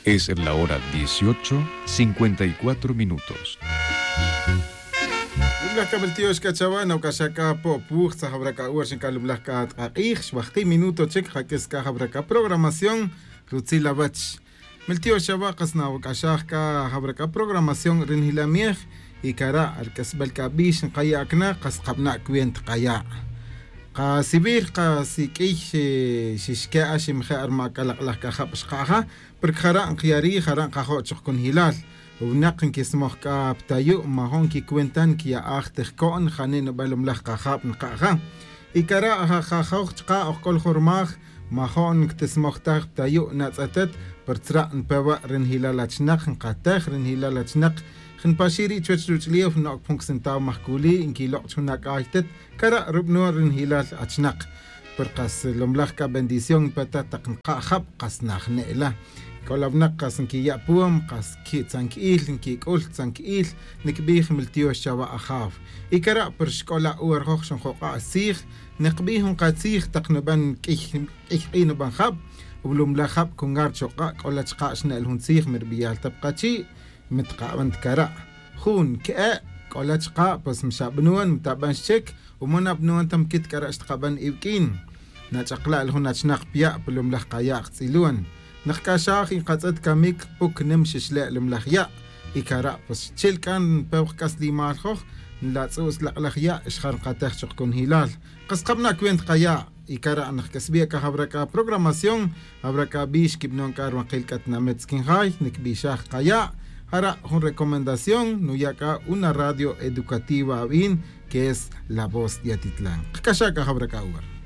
Es la hora 18:54 minutos. Lumlajka meltiox kachawa nawkaxaka Pop Wuj tza jabraka uwer xinka lumlajka tqaq'ij xwajqi minuto chik jak'is ka jabraka programación rutzil awach meltiox chawa qas nawk'axaj ka jabraka programación rinjilamiej y kara' rk'asb'al k'ab'ix nqaya'kna qas qab'na' kwient qaya' qasib'ij qasik'iy xixke'a ximje' rma kalaq'laj kajab' xqa'ja porque jara' nqyari jara' nqajo' choq kunjilal wnaq nkismoj k'a ptayu' majon kikwentan kiya'aj tijko'n jani nub'an lumlaj qajab' nqa'ja y kara' jajoj chqa ojk'ol jurmaj majon nktismoj taj ptayu' natz'etet per tzra' npewa' rinjilal achnaq nqatej rinjilal achnaq jnpaxiri chuech ruch'liw no'k pjun ksentaw majkuli nkiloq' chjun ak'aytet kara' rub'nuul rinjilal achnaq per qas lumlaj ka bendición peta taq nqa'jab' qas najne'la k'o qas nkiya' puum qas ki' tzank'iil nkik'ul tzank'iil nikb'iij miltiox chawa ajaw y kara' per xk'ola uwer joj xonjoq'a' siij niqb'iij jun qatziij taq nub'an k'iy k'iy nub'an jab' ulumlaj jab' kungar choq'a' k'ola chqa' xne'l jun tziij mirb'iyal tap qachi' mitqa'b'an kara' jun ke'e k'ola chqa' pues mxab'nuwan mtab'an xchek umon ab'nuwan tam kit kara' xtqab'an iwk'in nach'aqla'l jun achnaq pya' pulumlaj qaya'q tz'iluwan naqk'axaj inqatz'et kamik puk nim xixle' lumlaj ya' y kara' pues chil k'an pewq k'aslimal joj nlatz'u's laq'laj ya' xjar qatej choq kunjilal qas qab'na' kwent qaya' y kara' naqk'asb'ia ka jabraka programación habraka b'ix kib'non k'a rwaqil k'atnamet skinjay nikb'ixaj qaya' jara' jun recomendación nuyaka una radio educativa ab'in que es La Voz de Atitlán. Qk'axaka jabraka uwer.